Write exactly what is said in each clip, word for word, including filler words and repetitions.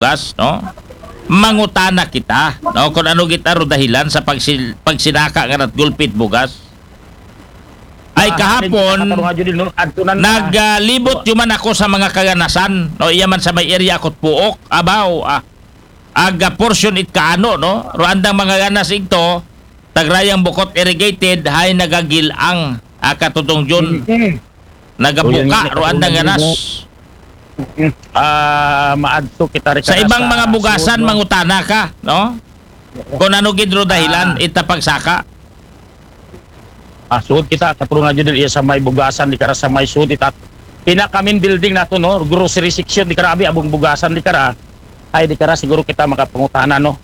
bugas, no? Mangutana kita, no? Kung ano gid aro dahilan sa pagsil-, pagsinaka nga nat gulpi it bugas. Ay, ah, kahapon, katarungan yun, no? Adto na na. Naglibot, ah, yuman ako sa mga kaganasan, no? Iya man sa may area ako't Puok, abaw, ah, aga portion it kaano, no? Ro andang mga ganas igto, tagrayang bukot irrigated, hay nagagil-ang, ah, Katutong Jun. Mm. Nagabuka, ro andang ganas. Mm. Ah, maadto kita rin sa ibang mga bugasan, no? Mangutana ka, no? Kung ano gid ro dahilan, ah, ita pagsaka. Ah, suod kita, katarungan yun, iya sa may bugasan, di kara sa may suod, ita. Pinaka main building nato, no? Grocery section, di kara, abi, abong bugasan, di kara. Ay, di kara, siguro kita makapangutana, no?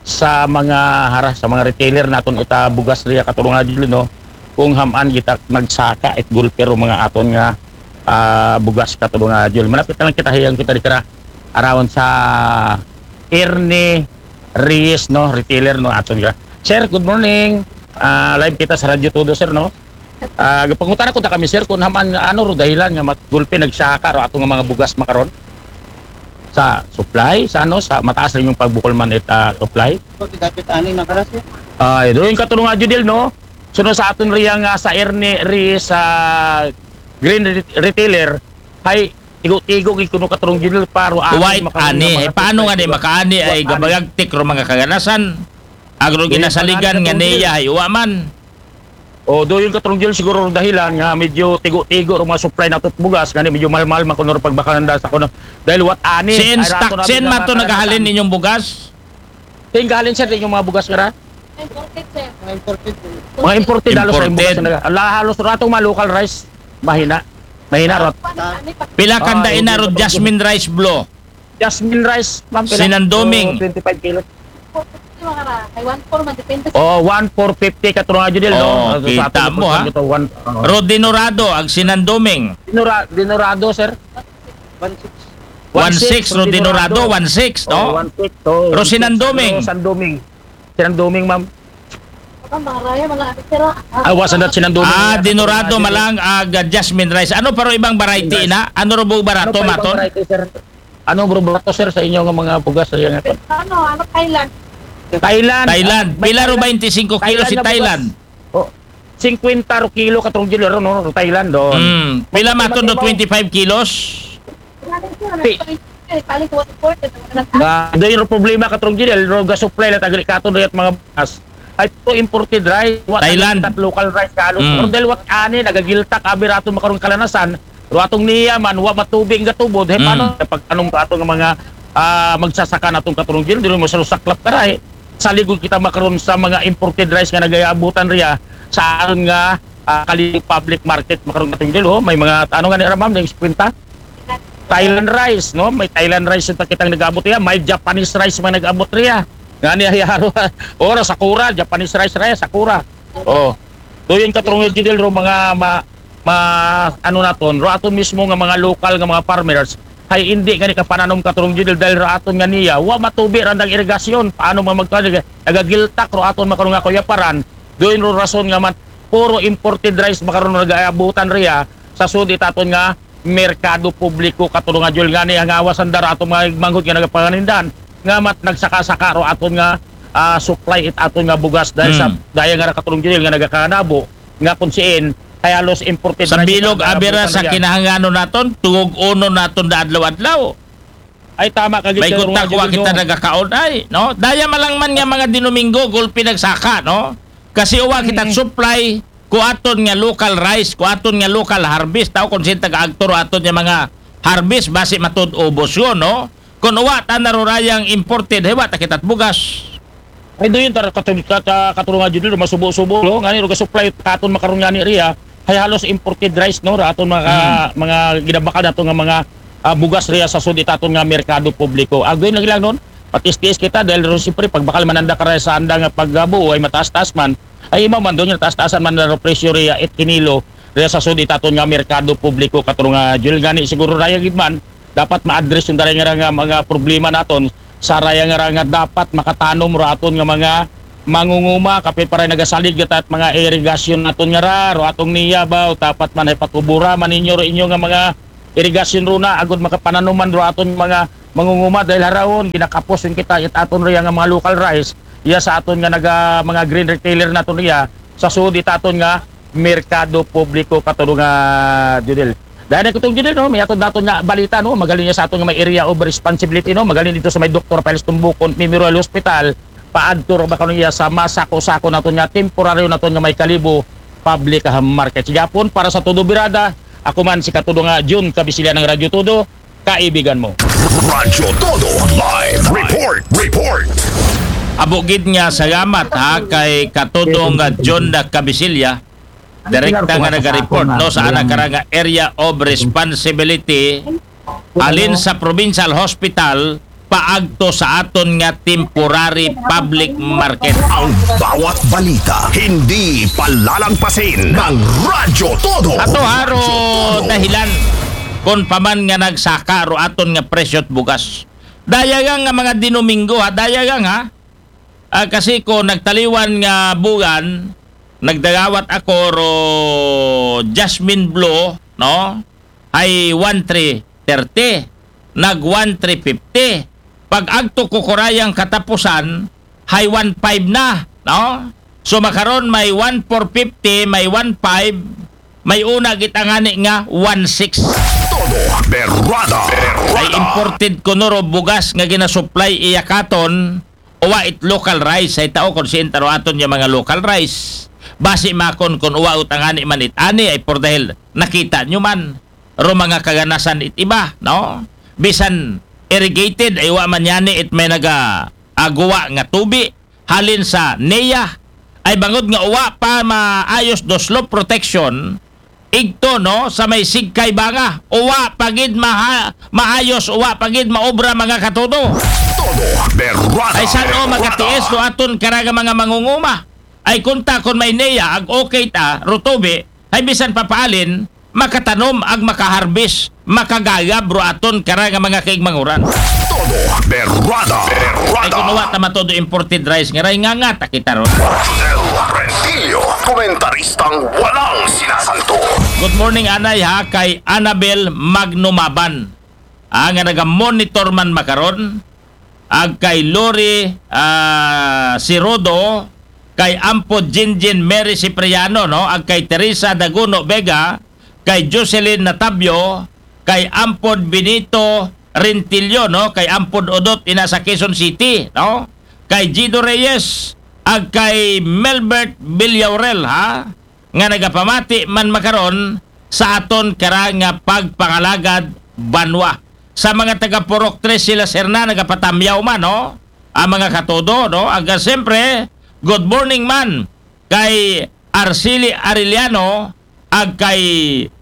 Sa mga hara, sa mga retailer naton ita bugas riya, katarungan yun, no? Kung hamaan kita nagsaka, it gulpi ro mga aton nga, ah, bugas, katarungan yun. Malapit na lang kita, hiyang kita, di kara, around sa Ernie Reyes, no? Retailer, no? Aton ka. Sir, good morning. Ah, live kita sa Radyo Todo, sir, no? Ah, pangutana ko ta kami, sir, kung haman, ano ro dahilan nga mat-, gulpi nagsaka ro ato nga mga bugas makaron? Sa supply, sa ano, sa mataas rin yung pagbukol man it, ah, supply? Ito, si David Ani, nakaras, sir. Ay, doon yung katarungan, Judel, no? Sunod sa aton riya nga sa Ernie Reyes, sa Green Re-, Retailer, hay, tigo-tigo, gid kuno, katarungan, Judel, pa ro aton. White makaron ani, nga eh, mga paano nga di supply, makaani ay white ani. Gabayagtik ro mga kaganasan? Agro ginasaligan nga niya, hay, uwa man. O, doon yung katarungan siguro dahilan nga medyo tigo-tigo ro mga supply nato bugas, nga medyo mahal-mahal man kuno ro pagbakal nanda sa kuno. Dahil what ani, sin ay rato stock, na sin man to nagahalin inyong bugas? Sin gahalin, sir, inyong mga bugas nga ra? Imported, sir. Mga imported, sir. Mga imported, halos ay bugas. Imported. Ala, halos rato mga local rice. Mahina. Mahina rot. Pila kanda ina ro, jasmine rice, blo? Jasmine rice, ma'am, pila? Sinanduming. So, twenty-five kilos. Ay, one four man, depende sa... Oh, one four fifty, katarungan, Judel, no? Oh, kita mo, ha? Ro dinorado, ag sinanduming. Dinora-, dinorado, sir? One six. One six, ro dinorado, one six, no? Oh, one six, oh. Ro sinanduming. Ro sinanduming. Sinanduming, ma'am. Baka maraya, mga ano, sir, ah. Ah, wasan dat sinanduming. Ah, dinorado malang, ag jasmine rice. Ano pa ro ibang variety na? Ano ro bug barato, ano pa ibang variety, sir? Ano bro, barato, sir, sa inyo nga mga bugas sa inyo? Ano, ano, Thailand? Thailand. Thailand. Pila ro twenty-five kilo si Thailand? Oh, fifty ro kilo, katarungan, ro, no? Ro Thailand, doon. Mm. Pila maton do twenty-five kilos? Pi- Ah, doon yung problema, katarungan, ro ga-supply la tagri katon, ro, at mga bugas. Ay, to imported rice. Wa Thailand. Tat local rice, kalos. Mm. Pero dahil what ani, nagagiltak, abi rato makarong kalanasan, ro atong niya man, wa matubig nga tubod, he, paano pag anong ato nga mga, ah, magsasaka natong katarungan, di mo sa saklap karay. Saligod kita makaron sa mga imported rice nga nagayabutan riya sa aron nga, ah, kali public market makaron katarungan, oh, may mga, ano nga ni ra, ma'am, yung kwenta? Thailand rice, no? May Thailand rice yung kitang nag-abot riya, may Japanese rice man nag-abot riya. Nga ni, hayaro, ora, sakura, Japanese rice riya, sakura. Oh. Doon yung katarungan, Judel, ro, mga ma-, ma-, ano naton, ro aton mismo nga mga local nga mga farmers, hay hindi nga ni kapananom, katarungan, Judel, dahil ro aton nga niya, wa matubi randang irigasyon, paano nga magka-, nagagiltak ro aton makaron nga kuyaparan, doon ro rason nga man, puro imported rice makaron nagaabutan riya, sa sud it aton nga merkado publiko, katarungan, Judel, nga ni ang awas ang dara aton mga manghod nga nagapanganindan, nga mat nagsaka-saka ro aton nga, ah, supply it aton nga bugas dahil sa daya nga ra, katarungan, Judel, nga nagakanabo, nga kung siin, kay halos imported sa rice bilog, abira sa kinahangano naton, tugog uno naton da adlaw-adlaw. Ay, tama ka gid, katarungan, Judel, kita no? Nagakaon ay, no? Daya malang man nga mga Dinomingo, gulpi nagsaka, no? Kasi uwa kita supply, ku aton nga local rice, ku aton nga local harvest, tao kung sino taga-agto ro aton nga mga harvest, basi matud ubos yun, no? Kung uwa ta na ro rayang imported, hewa ta kita't bugas. Ay, doon yun, tar-, katul-, kat-, ah, katarungan, Judel, ro masubo-subo, no? Ngani, ro ga-supply katon makaron ngani riya, hay halos imported rice, no? Ra aton mga, mga ginabakal nato nga mga, ah, bugas riya sa sud it aton nga merkado publiko. Agoy lagi lang nun, patis-tis kita, dahil ro siyempre, pagbakal man anda karay sa anda nga pagbuo, ay mataas-taas man, ay imaw man doon yung taas-taasan man na ro presyo riya, it kinilo, riya sa sud it aton nga merkado publiko, katarungan, Judel, ngani siguro raya gid man, dapat ma-address yung dara nga ra nga mga problema naton, sa raya nga ra nga dapat makatanom ro aton nga mga mangunguma, kapit para nagasalig kita at mga irigasyon naton nga ra, ro atong niya ba, o dapat man ay patubura man ninyo ro inyo nga mga irigasyon ro na, agud makapananuman ro aton mga, mangunguma, dahil harahon ginakapos yun kita it aton riya nga mga local rice iya sa aton nga naga, mga green retailer naton iya sa sud it aton nga merkado publiko, katudo nga Judel. Dahil na kitong Judel, no, may aton naton nga balita, no, magalin niya sa aton nga may area of responsibility, no, magalin dito sa may Doktor Piles Tumbukon Memorial Hospital, paadto ra ba kanunay sa masako-sako naton nga temporaryo naton nga may Kalibo Public Market. Sige, hapon para sa Todo Birada, ako man si katudo nga Jun Kabisilya ng Radyo Todo, kaibigan mo. Radyo Todo Live Report. Report. Abo gid nga salamat ha kay katudo nga John da Kabisilya, direkta nga naga-report, no, sa ana kara nga area of responsibility, alin sa provincial hospital paagto sa aton nga temporary public market. Ang bawat balita hindi palalagpasin ng Radyo Todo. Ato haro dahilan kung paman nga nagsaka ro aton nga presyo't bugas. Dayagang nga mga Dinomingo ha, dayagang ha. Ah, kasi ko nagtaliwan nga bugan, nagdagawat ako ro Jasmine Blue, no? Hay one three thirty, nag one three fifty. Pag agto ko kurayang katapusan, hay one five na, no? So makaron may one four fifty, may one five, may una gitangani nga one six. Todo Berrada. Ay imported ko nuro bugas nga ginasupply iya katon, uwa it local rice, ay tao kon sintaro aton yung mga local rice. Basi makon kon uwa utangani man it ani ay por dahil nakita nyo man ro mga kaganasan it iba, no? Bisan irrigated ay wa man yani it may naga aguwa nga tubi halin sa neya ay bangod nga uwa pa maayos do slope protection igto, no, sa may sigkay banga uwa pagid maha, maayos uwa pagid maobra mga katudo. Todo Berrada. Ay san o magkatiis do aton karaga mga mangunguma ay kunta kon may neya ag okay ta rutubi ay bisan papaalin makatanom ag makaharbis makagayab ro aton kara nga mga kaigmanguran. Todo Berrada. Ay Berrada. Kuno wa ta matodo imported rice nga ray nga nga takita ron. Josel Rentillo, komentaristang walang sinasanto. Good morning anay ha kay Annabel Magnumaban. Ah, nga naga-monitor man makaron ag kay Lori ah, Sirodo, kay Ampod Jinjin Mary Cipriano, no? Ag kay Teresa Daguno Vega, kay Jocelyn Natabio, kay Ampod Benito Rentillo, no? Kay Ampod Odot ina sa Quezon City, no? Kay Gido Reyes, ag kay Melbert Villaurel, ha? Nga nagapamati man makaron sa aton kara nga pagpangalagad banwa. Sa mga taga Purok Tres sila sir na nagapatamyaw man, no? Ang mga katodo, no? Aga siyempre, good morning man kay Arceli Arellano ag kay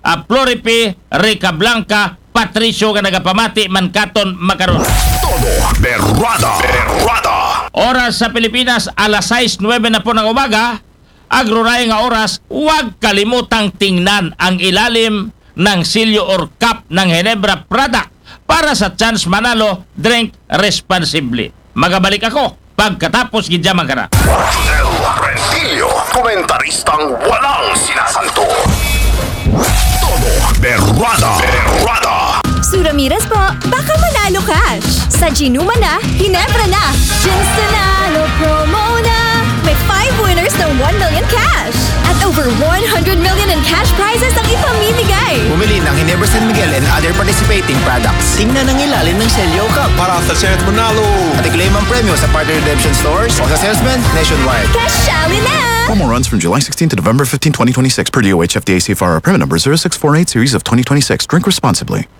ah, Floripe Ricablanca Patricio nga nagapamati man katon makaron. Todo Berrada. Berrada. Oras sa Pilipinas, alas sais nuebe na po ng umaga. Agroray nga oras, huwag kalimutang tingnan ang ilalim ng silyo or cup ng Ginebra product para sa chance manalo. Drink responsibly. Magabalik ako pagkatapos gidya magkara. Josel Rentillo, komentaristang walang sinasanto. Todo Berrada. Berrada. Sue Ramirez po, baka manalo cash. Sa Ginuma na, Ginebra na. Ginstanalo promo na. May five winners ng one million cash. At over one hundred million in cash prizes ang ipamimigay. Bumili ng Ginebra San Miguel and other participating products. Tingnan ang ilalim ng selyo cup para sa chance manalo. At i-claim ang premyo sa partner redemption stores o sa salesman nationwide. Kasali na! Promo runs from July sixteenth to November fifteenth, twenty twenty-six, per D O H F D A C F R, permit number zero six four eight series of twenty twenty-six. Drink responsibly.